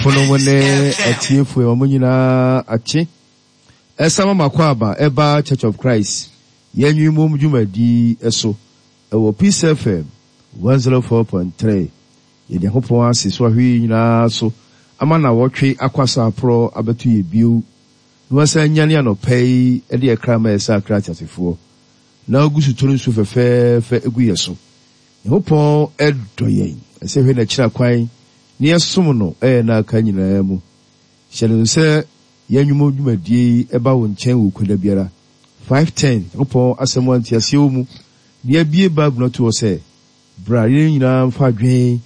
Adɔfo nom ne atiefo yɛma mo nyinaa akye. Ɛsa ma m'akwaaba ɛba Church of Christ yɛn nwummom dwumadi so ɛwɔ Peace FM 104.3. Yɛda Nyankopɔn ase so ahwɛ yɛn nyinaa so ama nawɔtwe akwasaporɔ abɛto yɛ bio na wasan anyane anɔpa yi de yɛ kra ma yɛ sɛ akra ateasefoɔ na ogu so tɔ nsuo fɛfɛɛfɛ gu yɛ so. Nyankopɔn dɔ yɛn, ɛsɛ yɛhwɛ n'akyira kwan na yɛsom no yɛn nna aka nyinaa mu. Hyɛ no nso sɛ yɛn nnwuma dwumadie yi ba wo nkyɛn wɔ Kwada biara, 5:10, Nyankopɔn asɛm a nteaseɛ wɔ mu, na yɛabue Bible no ato hɔ sɛ, Bra yɛn nyinaa mfa adwene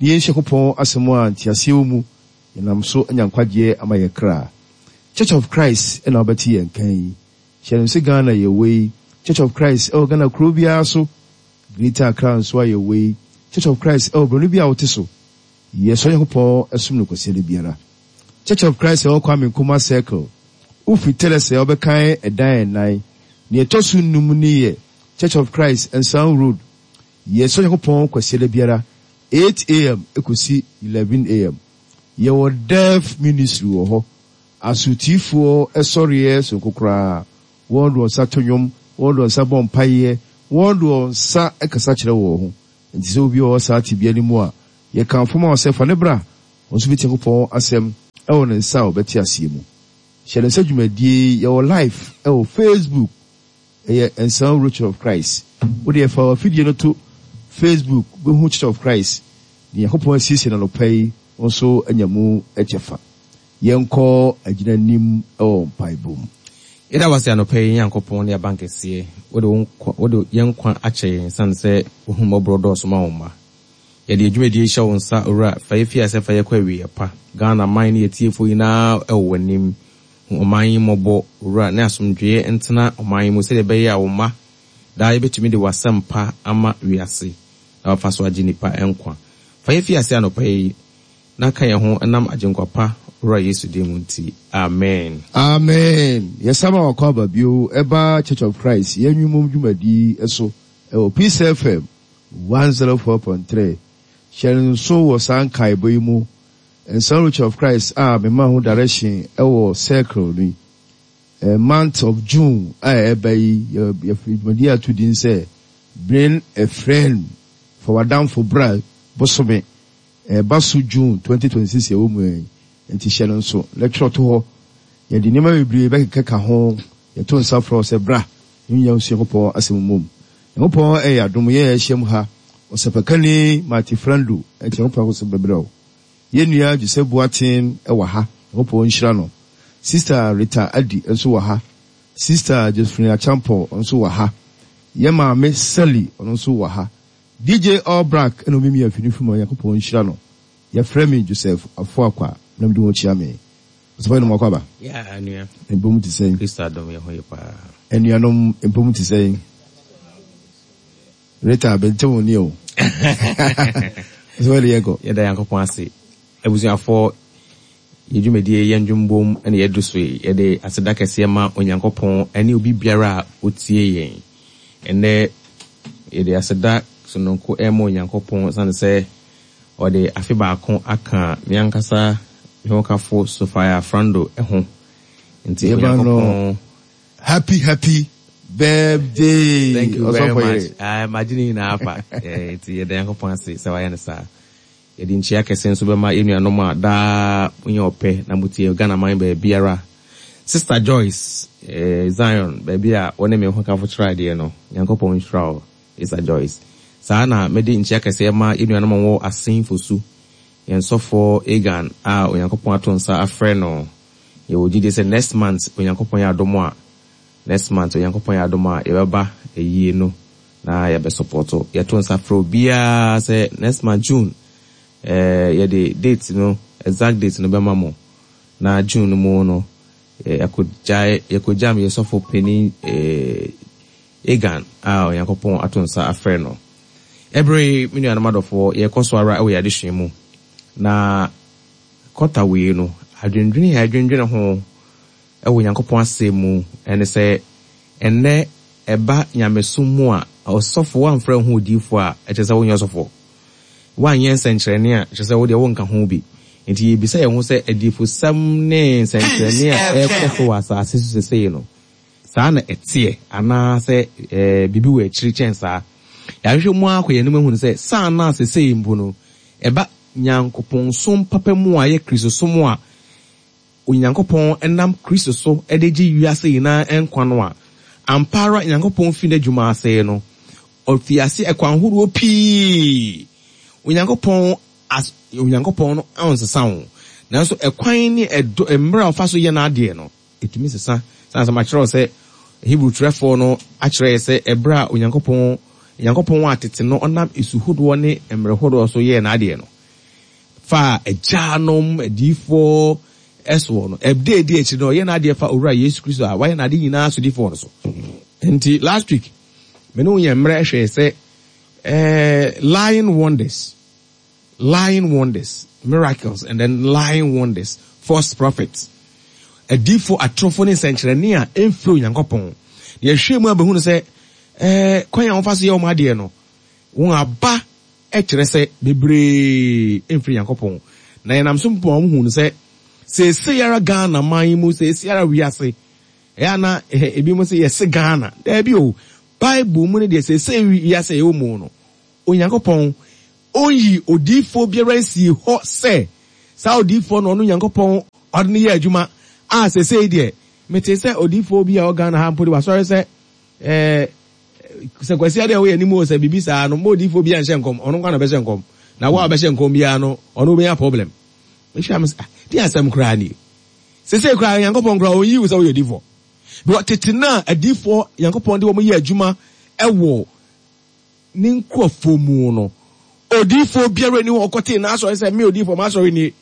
na yɛnsua Nyankopɔn asɛm a nteaseɛ wɔ mu, yɛnam so anya nkwagyeɛ ama yɛn kra. Church of Christ na wobɛte yɛn nka yi. Hyɛ no nso Ghana yɛwɔ yi, Church of Christ wɔ Ghana kuro biara so, Greater Accra nso a yɛwɔ yi, Church of Christ wɔ borɔno bi a wote so. Yɛsɔ Nyankopɔn som no Kwasiada biara. Church of Christ ɛwɔ Kwame Nkrumah Circle. Wofiri Teresa a wobɛkan ɛdan ɛnan. Nea ɛtɔ so nnum no yɛ Church of Christ, Nsan Road. Yɛsɔ Nyankopɔn Kwasiada biara, 8 AM kɔsi 11 AM. Yɛwɔ Deaf Ministry wɔ hɔ. Asotifoɔ sɔreɛ sononko koraa. Wɔn de wɔn nsa to nnwom, wɔn de wɔn nsa bɔ mpaeɛ, wɔn de wɔn nsa kasa kyerɛ wɔn ho. Enti sɛ obi a ɔwɔ saa tebea no mu a, yɛkamfo ma wo sɛ fa no bra, ɔno nso bɛtie Nyankopɔn asɛm wɔ ne nsa a ɔbɛte aseɛ mu. Hyɛ no nsa dwumadie yi, yɛwɔ live wɔ Facebook, ɛyɛ Nsan Wuro Church of Christ. Wo deɛ fa w'afidie no to Facebook, wobɛhu Church of Christ, deɛ Nyankopɔn asiesie no anɔpa yi, wo nso anya mu kyɛfa. Yɛnkɔ agyina nim wɔ mpaebɔ mu. Yɛda wo ase anɔpa yi Nyankopɔn ne Abankɛseɛ, wode wo nkwa wode yɛn nkwa akyɛ yɛn ɛsiane sɛ w'ahummɔborɔ dɔɔso ma wo mma. Yɛde yɛn dwumadie yi hyɛ wo nsa Owura, fa yɛ fi aseɛ fa yɛ kɔ awieɛ pa. Ghana man ne yɛtiefoɔ nyinaa wɔ w'anim. Hu ɔman yi mmɔbɔ Owura ne asomdwoeɛ ntena ɔman yi mu sɛdeɛ ɛbɛyɛ a wo mma daa yɛbɛtumi de w'asɛmpa ama wiase na wafa so agye nnipa nkwa. Fa yɛ fi aseɛ anɔpa yi Na ka yɛn ho nam Agyenkwa pa Wura Yesu din mu nti, amen. Amen! Yɛsan ma w'akwaaba bio ɛba Church of Christ yɛn nnwumom dwumadi yi so ɛwɔ Peace FM 104.3. Hyɛ no nso wɔ saa nkaebɔ yi mu, Nsan Church of Christ a mema ho direction ɛwɔ circle no yi, month of June a ɛreba yi, yɛfrɛ dwumadi ato din sɛ Bring a Friend, Fa w'adamfo bra bosome. Ɛreba so June 2026 a yɛwɔ mu yi, enti hyɛ no nso na twerɛ to hɔ. Yɛde nneɛma bebree bɛkekaka ho. Yɛto nsa frɛ wo sɛ bra na yɛnnya nsua Nyankopɔn asɛm mmom. Nyankopɔn yɛ adom, yɛn a yɛahyiam ha, Ɔsɛpakani Marty Frando, ɛnti Nyankopɔn akosɛm bɛbrɛ wo. Yɛn nua Joseph Boateng wɔ ha, Nyankopɔn nhyira no. Sista Rita Adi nso wɔ ha. Sista Josephine Acheampong nso wɔ ha. Yɛn maame Sally, ɔno nso wɔ ha. DJ All Black na omimia fi no fi mu Onyankopɔn nhyira no Yɛfrɛ me Joseph Afuakwa na mede ho kyia me Ɔsɔfo Anom Akwaaba. Yeah anua. Mpɔ mu te sɛn? Kristo adom yɛ ho ye paa. Anuanom mpɔ mu te sɛn? Rita mente wo nne o. Ɔsɔfo ɛde yɛnkɔ. Yɛda Nyankopɔn ase. Abusuafoɔ Yɛn dwumadie Yɛn Dwom Bom na yɛadu so yi. Yɛde aseda kɛseɛ ma Onyankopɔn ne obi biara a ɔtie yɛn. Ɛnnɛ yɛde aseda sononko rema Onyankopɔn ɛsiane sɛ ɔde afe baako aka me ankasa me hokafo Sophia Frando ho. Nti Yɛma no Onyankopɔn. Happy happy birthday Thank you very Ɔsɔfo much. yere. Ah, magye ne nyinaa afa. Eh, nti yɛda Nyankopɔn ase sɛ wayɛ no saa. Yɛde nkyia kɛse nso bɛma yɛn nuanom a daa monya ɔpɛ na motie Ghana man baabiara. Sister Joyce, eh, Zion, baabi a wo ne me hokafo tra deɛ no, Nyankopɔn nhyira wo, Sister Joyce. Saa na mede nkyia kɛseɛ ma yɛn nuanom a wɔwɔ Asin Fosu, yɛn sɔfoɔ Egan a Onyankopɔn ato nsa afrɛ no. Yɛwɔ gyidie sɛ next month Onyankopɔn yɛ adom a, next month Onyankopɔn yɛ adom a, yɛbɛba ayie no na yɛbɛ sɔpɔto. Yɛto nsa frɛ obiara sɛ next month June eh, yɛde date no, exact date no bɛma mo. Na June no mu no, yɛakɔgyae, yɛkɔgyam yɛ sɔfo panin eh, Egan a Onyankopɔn ato nsa afrɛ no. Ɛberɛ yi, me nuanom adɔfoɔ, yɛkɔ so ara wɔ yɛn adesua mu. Na kɔta wei no, adwendwene a yɛadwendwene ho wɔ Onyankopɔn Asɛm mu ne sɛ, ɛnnɛ ɛba nyamesom mu a, ɔsɔfo, woamfrɛ wo ho odiyifo a, ɛkyerɛ sɛ wonyɛ ɔsɔfo. Woanyɛ nsɛnkyerɛnne a, kyerɛ sɛ wo deɛ wonka ho bi. Enti yɛrebisa yɛn ho sɛ, adiyifosɛm ne nsɛnkyerɛnne a ɛrekɔ so wɔ asase so seesei no, saa na ɛteɛ anaasɛ biribi wɔ akyiri kyɛn saa? Yɛahwehwɛ mu ara kɔ yɛn anim ahunu sɛ saa na seesei mpo no, ɛba Nyankopɔnsom papa mu a ɛyɛ Kristosom a Onyankopɔn nam Kristo so de gye wiase nyinaa nkwa no a, ampa ara Nyankopɔn fi n'adwuma ase no, ɔfii ase ɛkwan horoɔ pii. Onyankopɔn as Onyankopɔn no ɔnsesa wo, nanso ɛkwan ne ɛdɔ mmerɛ a ɔfa so yɛ n'adeɛ no, ɛtumi sesa. Sane sɛ makyerɛ wo sɛ Hebri twerɛfoɔ no akyerɛ yɛ sɛ ɛberɛ a Onyankopɔn Nyankopɔn a tete no ɔnam esu hodoɔ ne mmerɛ hodoɔ so yɛɛ n'adeɛ no, faa agyanom adiyifoɔ soɔ no, ɛda adi akyiri no, ɔyɛ n'adeɛ fa Owura Yesu Kristo a wayɛ n'ade nyinaa sodifoɔ no so. Nti last week, me ne wo yɛ mmerɛ hwɛɛ sɛ eh, lying wonders, lying wonders, miracles and then lying wonders, false prophets, adiyifoɔ atorofo ne nsɛnkyerɛnne a ɛmfiri Onyankopɔn. Na yɛhwɛ mu abɛhunu sɛ eh, kwan a wɔfa so yɛ wɔn adeɛ no, wɔn aba Ɛkyerɛ sɛ bebree mfiri Nyankopɔn. Na yɛnam so mpo ma wɔhuu no sɛ seesei ara Ghana man yi mu, seesei ara wiase, ɛyɛ a na ebinom se yɛse Ghana. Daabi o, Bible mu no deɛ seesei wiase a yɛwɔ mu no, Onyankopɔn ɔnyii odiyifoɔ biara nsii hɔ sɛ saa odiyifoɔ no ɔno Nyankopɔn ɔde no yɛ adwuma a seesei deɛ metee sɛ odiyifoɔ bi a ɔwɔ Ghana ha mpo de wasɔre sɛ ɛɛ Sɛ Kwasi adeɛ a woyɛ anim o sɛ biribi saa no mma odiyifoɔ biara nhyɛ nkɔm ɔno nko na ɔbɛhyɛ nkɔm na wo a wobɛhyɛ nkɔm biara no ɔno wobɛnya problem. Mehwɛ a mesɛ ah deɛ asɛm koraa nie. Sesei koraa Nyankopɔn koraa ɔnyi wo sɛ woyɛ odiyifoɔ. Because tete no a adiyifoɔ Nyankopɔn de wɔn yɛ adwuma ɛwɔ ne nkurɔfoɔ mu no odiyifoɔ biara ni hɔ ɔkɔtee n'asɔre sɛ me odiyifoɔ m'asɔre nie.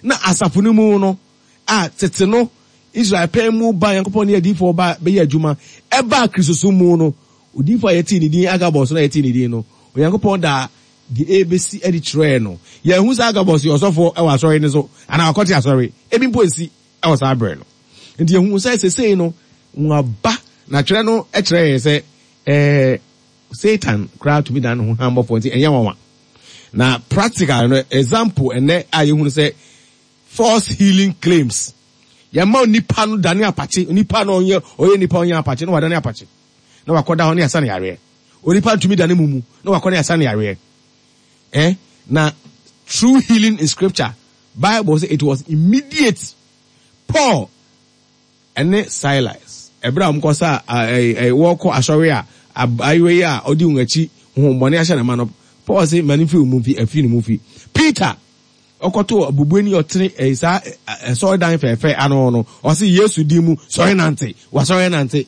Na asafo no mu no a tete no Israel pɛn mu ba Nyankopɔn ne adiyifoɔ ba bɛyɛ adwuma, ɛbaa Kristosom mu no, odiyifoɔ a yɛtee ne din Agabus no a yɛtee ne din no, Onyankopɔn daa deɛ ɛrebɛsi adi kyerɛɛ no. Yɛanhu sɛ Agabus yɛ ɔsɔfoɔ wɔ asɔre no so anaa wakɔte asɔre, ebi mpo ansi wɔ saa berɛ no. Nti yɛhu sɛ sesei no wɔaba, na twerɛ no kyerɛ yɛn sɛ ɛɛ Satan koraa tumi dan ne ho hann bɔfoɔ, nti ɛnyɛ nwanwa. Na practical no example ɛnnɛ a yɛhunu sɛ False healing claims. Yɛma onipa no dane apakye. Onipa no ɔnyɛ ɔyɛ nipa ɔnyɛ apakye na wadane apakye. Na wakɔda hɔ ne yasa no yareɛ. Onipa ntumi dane mumu na wakɔ ne yasa no yareɛ. Eh? Na true healing in scripture, Bible say it was immediate. Paul ɛne Silas ɛberɛ a wɔkɔ sa wɔkɔ asɔre a abayewa yi a ɔdi wɔn akyi honhommɔne ahyɛ ne ma no, Paul se ma no mfiri wɔn mu mfi afiri ne mu mfi. Peter Ɔkɔtoo obubuani a ɔtene saa asɔredan fɛɛfɛ ano no, ɔse, Yesu din mu, sɔre nante! Wasɔre anante.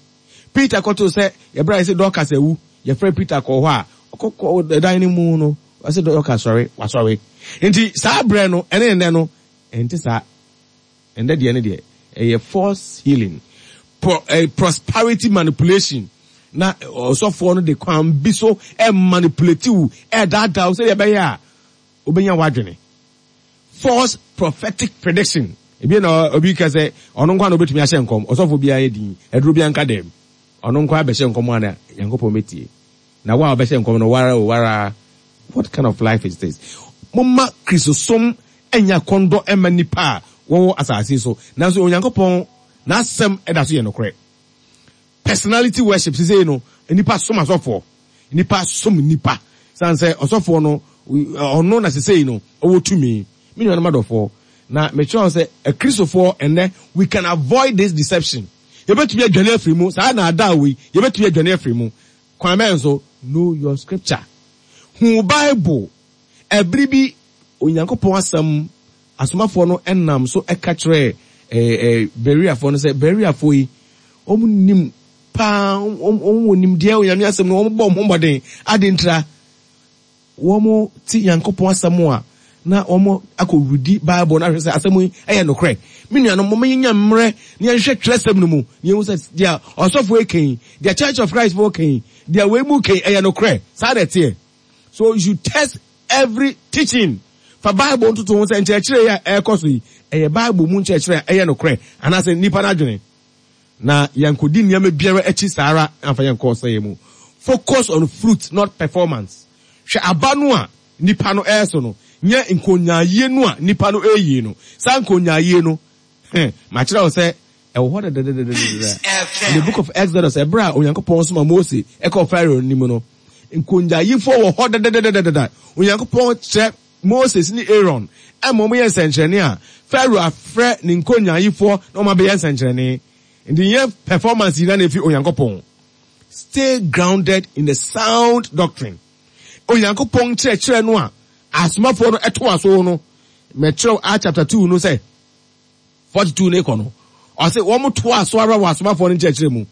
Peter kɔtoo sɛ, ɛberɛ a yɛse Dorcas awu, yɛfrɛɛ Peter kɔɔ hɔ a, ɔkɔkɔ dan no mu no, ɔse Dorcas sɔre, wasɔre. Nti saa berɛ no ɛne nnɛ no, ɛnte saa. Ɛnnɛ deɛ no deɛ, ɛyɛ false healing, pro, eh, prosperity manipulation. Na ɔsɔfoɔ no de kwan bi so ɛmanipulate wo, ɛdaadaa wo sɛdeɛ ɛbɛyɛ a Wobɛnya w'adwene. False prophetic prediction. Ebia na obi ka sɛ ɔno nko ara na obetumi ahyɛ nkɔm, ɔsɔfo biara yɛ din, aduro biara nka dɛm. Ɔno nko ara bɛhyɛ nkɔm a na Nyankopɔn bɛtie. Na wo a wobɛhyɛ nkɔm no, woara o, woara. What kind of life is this? Momma Kristosom nyɛ akɔndɔ mma nnipa a wɔwɔ asase yi so, nanso Onyankopɔn n'asɛm da so yɛ nokorɛ. Personality worship, sesei no, nnipa som asɔfoɔ. Nnipa som nnipa. Sane sɛ ɔsɔfoɔ no, ɔno na sesei no, ɔwɔ tumi. Me nuanom adɔfoɔ, na mekyerɛ wo sɛ, Akristofoɔ ɛnnɛ, we can avoid this deception. Yɛbɛtumi adwane afiri mu, saa naadaa wei, yɛbɛtumi adwane afiri mu. Kwan bɛn so? Know your scripture. Hu wo Bible. Ɛbere bi, Onyankopɔn asɛm, asomafoɔ no nam so ka kyerɛɛ Bereafoɔ no sɛ, Bereafoɔ yi, wɔn nim paa, wɔn wɔ nimdeɛ Onyame asɛm no, wɔn bɔ wɔn ho mmɔden. Adɛn ntira? Wɔn te Nyankopɔn asɛm a, na wɔn akɔ redi Bible no ahwɛ sɛ asɛm yi yɛ nokorɛ. Me nuanom, momma yɛnya mmerɛ na yɛnhwehwɛ twerɛsɛm no mu, na yɛhu sɛ deɛ ɔsɔfoɔ yi ka yi, deɛ Church of Christ foɔ ka yi, deɛ wei mu ka yi, ɛyɛ nokorɛ. Saa na ɛteɛ. So you should test every teaching. Fa Bible ntoto ho sɛ nkyerɛkyerɛ yi a ɛrekɔ so yi, ɛyɛ Bible mu nkyerɛkyerɛ a ɛyɛ nokorɛ anaasɛ nnipa no adwene. Na yɛnkɔdi nneɛma biara akyi saa ara amfa yɛn nkɔ ɔsɛeɛ mu. Focus on fruit not performance. Hwɛ aba no a nipa no ɛreso no. Nyɛ nkonyaayie no a nnipa no reyi no. Saa nkonyaayie no, heh, makyerɛ wo sɛ ɛwɔ hɔ dɛdɛdɛdɛdɛdɛ. In the book of Exodus, ɛberɛ a Onyankopɔn soma Mose kɔɔ Pharaoh anim no, nkonyaayifoɔ wɔ hɔ dɛdɛdɛdɛdɛdɛ. Onyankopɔn kyerɛ Moses ne Aaron ma wɔyɛ nsɛnkyerɛnne a, Pharaoh afrɛ ne nkonyaayifoɔ na wɔn abɛyɛ nsɛnkyerɛnne. Nti nyɛ performance nyinaa na ɛfiri Onyankopɔn. Stay grounded in the sound doctrine. Onyankopɔn nkyerɛkyerɛ no a asomafoɔ no toa so no, mɛkyerɛw Acts chapter 2 no sɛ 42 no kɔ no, ɔse wɔn toa so ara wɔ asomafoɔ no nkyerɛkyerɛ mu.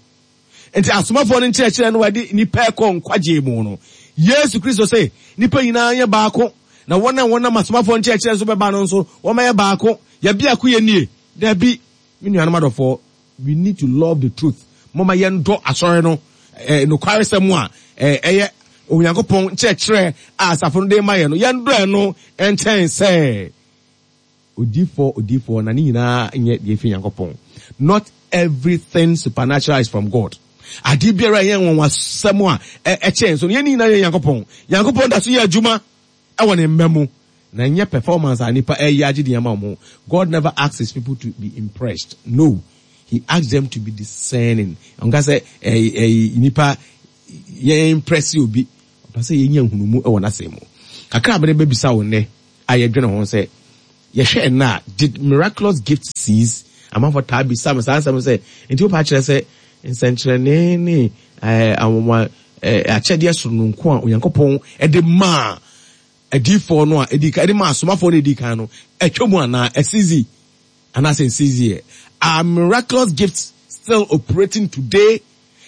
Nti asomafoɔ no nkyerɛkyerɛ no a ɛde nnipa kɔ nkwagyeɛ mu no, Yesu Kristo se nnipa nyinaa nyɛ baako, na wɔn a wɔnam asomafoɔ nkyerɛkyerɛ so bɛba no nso wɔmɛyɛ baako. Yɛ biako yɛ nie? Dabi, me nuanom adɔfoɔ, We need to love the truth. Momma yɛndɔ asɔre no eh, nokwaresɛm a eh, ɛyɛ Onyankopɔn nkyerɛkyerɛ a asafo no de ma yɛn no. Yɛndɔ ɛno nkyɛn sɛ odiifoɔ odiifoɔ na ne nyinaa nyɛ deɛ ɛfiri Nyankopɔn. Not everything supernatural is from God. Adeɛ biara ɛyɛ nwanwasɛm a ɛkyɛn so no, yɛn nyinaa yɛ Nyankopɔn. Nyankopɔn da so yɛ adwuma. Ɛwɔ ne mma mu na ɛnyɛ performance a nipa ɛyɛ agye din ama wɔn ho. God never asks his people to be impressed no he asks them to be discerning. Ɔnka sɛ ɛyi ɛyi nipa yɛn impress obi ɔpɛ sɛ yɛnya nhunumu ɛwɔ n'asɛm mu. Kakra a mede bɛbisa wo nnɛ a yɛdwene ho sɛ yɛhwɛ ɛnnɛ a did miraculous gifts cease? Amanfoɔ taa bisa me saa nsɛm sɛ nti wopɛ akyerɛ sɛ nsɛnkyerɛnne ne ɛɛ anwanwa akyɛdeɛ sononko a Onyankopɔn de maa adiyifoɔ no a ɛdi kan, de maa asomafoɔ no a ɛdi kan no, atwa mu anaa? Ɛsizi anaasɛ nsiziɛ? Are miraculous gifts still operating today?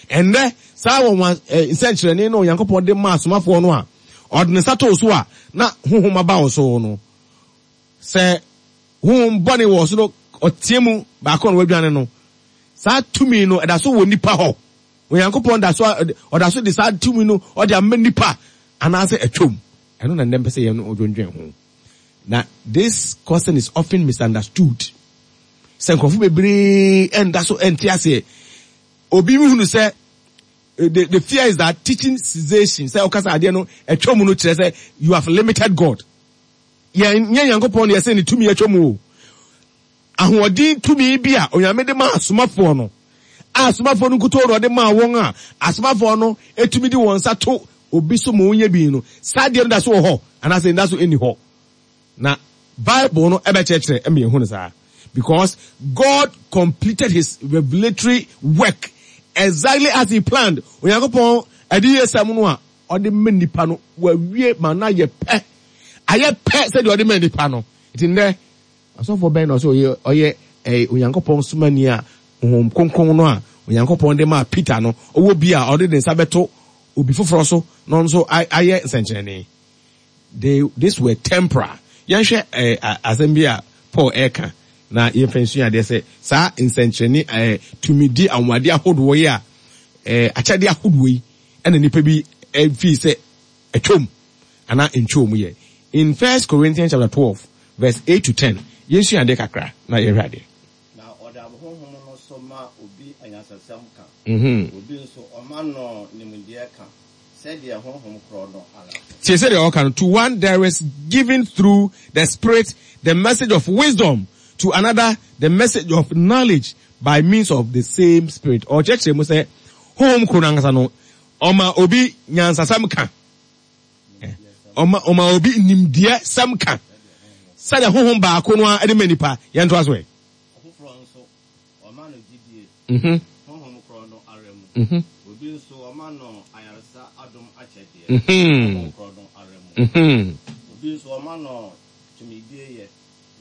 Ɛnnɛ, saa wɔn nsɛnkyerɛnne no Onyankopɔn de maa asomafoɔ no a ɔde ne nsa too so a na honhom aba wɔn so no, sɛ honhom bɔne wɔ so no, ɔteɛ mu baako na wadwane no, saa tumi no ɛda so wɔ nipa hɔ. Onyankopɔn da so ɔda so de saa tumi no ɔde ama nipa anaasɛ atwam? Ɛno na nnɛ mpɛ sɛ yɛn dwendwen ho. Na this question is often misunderstood. Sɛ nkurɔfo bebree ɛnda so ɛnte aseɛ. Obi hunu sɛ eh, the, the fear is that teaching cessation sɛ ɔkasa adeɛ no atwam no kyerɛ sɛ you have limited God. Yɛn nyɛ Nyankopɔn na yɛsɛ ne tumi atwam o. Ahoɔden tumi bi a Onyame de maa asomafoɔ no, a asomafoɔ no nkutoo na ɔde maa wɔn a asomafoɔ no tumi de wɔn nsa to obi so ma ɔnya bi no, saa adeɛ no da so wɔ hɔ anaasɛ ɛnda so nni hɔ? Na Bible no bɛkyerɛkyerɛ ma yɛahu no saa. Because God completed his revelatory work exactly as he planned. Onyankopɔn adiyisɛm no a ɔde ma nnipa no, wawie ma no ayɛ pɛ. Ayɛ pɛ sɛdeɛ ɔde ma nnipa no. Nti nnɛ, Ɔsɔfoɔ bɛn na ɔsɛ ɔyɛ ɔyɛ ɛɛ Onyankopɔn somani a Honhom Kronkron no a Onyankopɔn de maa Peter no ɔwɔ bi a ɔde ne nsa bɛto obi foforɔ so na ɔno nso ayɛ nsɛnkyerɛnne? They, this were temporal. Yɛnhwɛ ɛɛ asɛm bi a Paul ɛreka na yɛmfa nsua adeɛ sɛ saa nsɛnkyerɛnne ɛɛ tumidi anwanwadeɛ ahodoɔ yi a ɛɛ akyɛdeɛ ahodoɔ yi ɛna nnipa bi ɛfii sɛ atwam anaa ntwoo mu yɛ. In First Corinthians chapter 12 verse 8 to 10, yɛnsua adeɛ kakra na yɛhwɛ adeɛ. Na ɔde Honhom no so ma obi anyansasɛm ka, obi nso, ɔma no nimdeɛ ka, sɛdeɛ Honhom korɔ no ara pɛ. Tie sɛdeɛ ɔka no, To one there is given through the Spirit the message of wisdom, to another the message of knowledge by means of the same Spirit. Ɔkyerɛkyerɛ mu sɛ Honhom koro no ankasa no, ɔma obi nyansasɛm ka. Ɔma ɔma obi nimdeɛ sɛm ka sɛdeɛ honhom baako no ara de ma nipa. Yɛn to aso ɛ. Ɔfoforɔ nso, ɔma no gyidie, mhm. honhom korɔ no ara mu. Mhm. Obi nso, ɔma no ayaresa adom akyɛdeɛ, mhm. honhom korɔ no ara mu. Obi nso, ɔma no tumidie yɛ.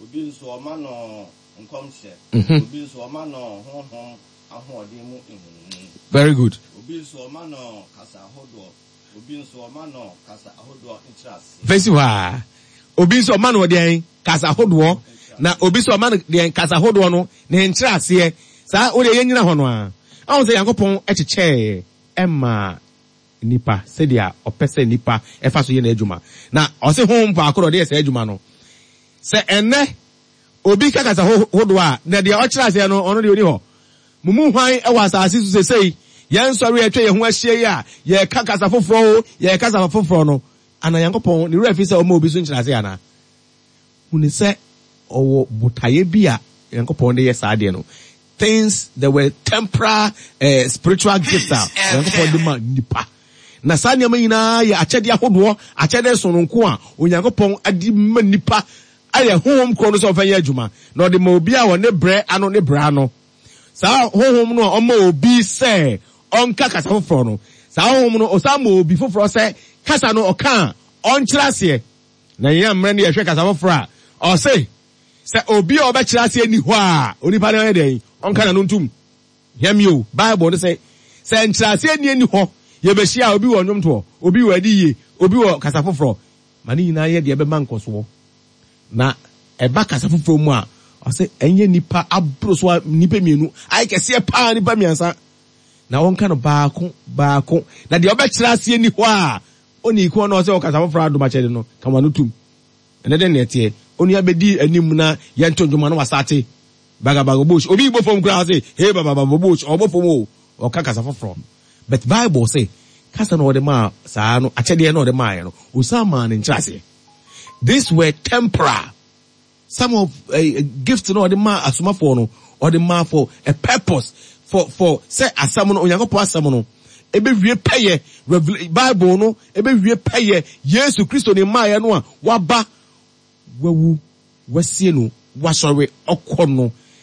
Obi nso, ɔma no nkɔmhyɛ. Obi nso, ɔma no honhom ahoɔden mu nhunumu. Very good. Obi nso, ɔma no kasa ahodoɔ. Obi nso, ɔma no kasa ahodoɔ nkyerɛaseɛ. Fesi hɔ ara. Obi nso, ɔma no deɛn? Kasa ahodoɔ. Na obi nso, ɔma no deɛn? Kasa ahodoɔ no ne nkyerɛaseɛ. Saa, wo deɛ yɛnnyina hɔ no ara. Ɔhu sɛ Nyankopɔn kyekyɛɛ maa nnipa sɛdeɛ ɔpɛ sɛ nnipa fa so yɛ n'adwuma. Na ɔse Honhom baako na ɔde yɛ saa adwuma no. Sɛ ɛnnɛ obi ka kasa hodoɔ a, na deɛ ɔkyerɛ aseɛ no, ɔno deɛ ɔni hɔ. Mo mu hwan wɔ asase so seesei, yɛn nsɔre a atwa yɛn ho ahyia yi a yɛreka kasa foforɔ o, yɛreka kasa foforɔ no, ana Nyankopɔn ne werɛ afi sɛ ɔma obi so nkyerɛaseɛ anaa? Hu no sɛ ɔwɔ botaeɛ bi a Nyankopɔn de yɛ saa adeɛ no. Things there were temporal eh, spiritual gifts a Onyankopɔn de ma nipa. Na saa nneɛma nyinaa yɛ akyɛdeɛ ahodoɔ, akyɛdeɛ sononko a Onyankopɔn de ma nipa ayɛ honhom korɔ no sɛ ɔmfa nyɛ adwuma. Na ɔde ma obi a wɔ ne brɛ ano ne brɛ ano. Saa honhom no a ɔma obi sɛ ɔnka kasa foforɔ no, saa honhom no ɔsan ma obi foforɔ sɛ kasa no ɔka a ɔnkyerɛ aseɛ. Na yɛn mmerɛ no yɛhwɛ kasa foforɔ a, ɔse sɛ obi a ɔbɛkyerɛ aseɛ nni hɔ a, onipa no ɔnyɛ dɛn? Ɔnka n'ano ntom. Hwɛ me o, Bible no sɛ, sɛ nkyerɛaseɛ nni nni hɔ, yɛbɛhyia a, obi wɔ nnwomtoɔ, obi wɔ adiyie, obi wɔ kasa foforɔ. Ma ne nyinaa nyɛ deɛ ɛbɛma nkɔsoɔ. Na ɛba kasa foforɔ mu a, ɔse ɛnyɛ nnipa aboro so a nnipa mmienu, ayɛ kɛseɛ paa nnipa mmiɛnsa. Na wɔnka no baako baako. Na deɛ ɔbɛkyerɛ aseɛ nni hɔ a, onii ko no a ɔsɛ ɔkasa foforɔ adom akyɛde no, ka wɔn ano tom. Ɛnɛ dɛn na ɛteɛ? Onua bɛdi anim na yɛnto nnwom a na wasate. Bagabaga bush. Obi bɔ fam koraa ɔse, hey babababa bush, ɔbɔ fam o. Ɔka kasa foforɔ. But Bible se, kasa na ɔde maa saa no, akyɛdeɛ na ɔde maaeɛ no, ɔsan maa no nkyerɛaseɛ. These were temporal. Some of uh, gifts na ɔde maa asomafoɔ no, ɔde maa for a purpose, for for sɛ asɛm no, Onyankopɔn asɛm no, ɛbɛwie pɛyɛ, Bible no, ɛbɛwie pɛyɛ, Yesu Kristo ne mmaeɛ no a waba, wawu, wasie no, wasɔre, ɔkɔ no.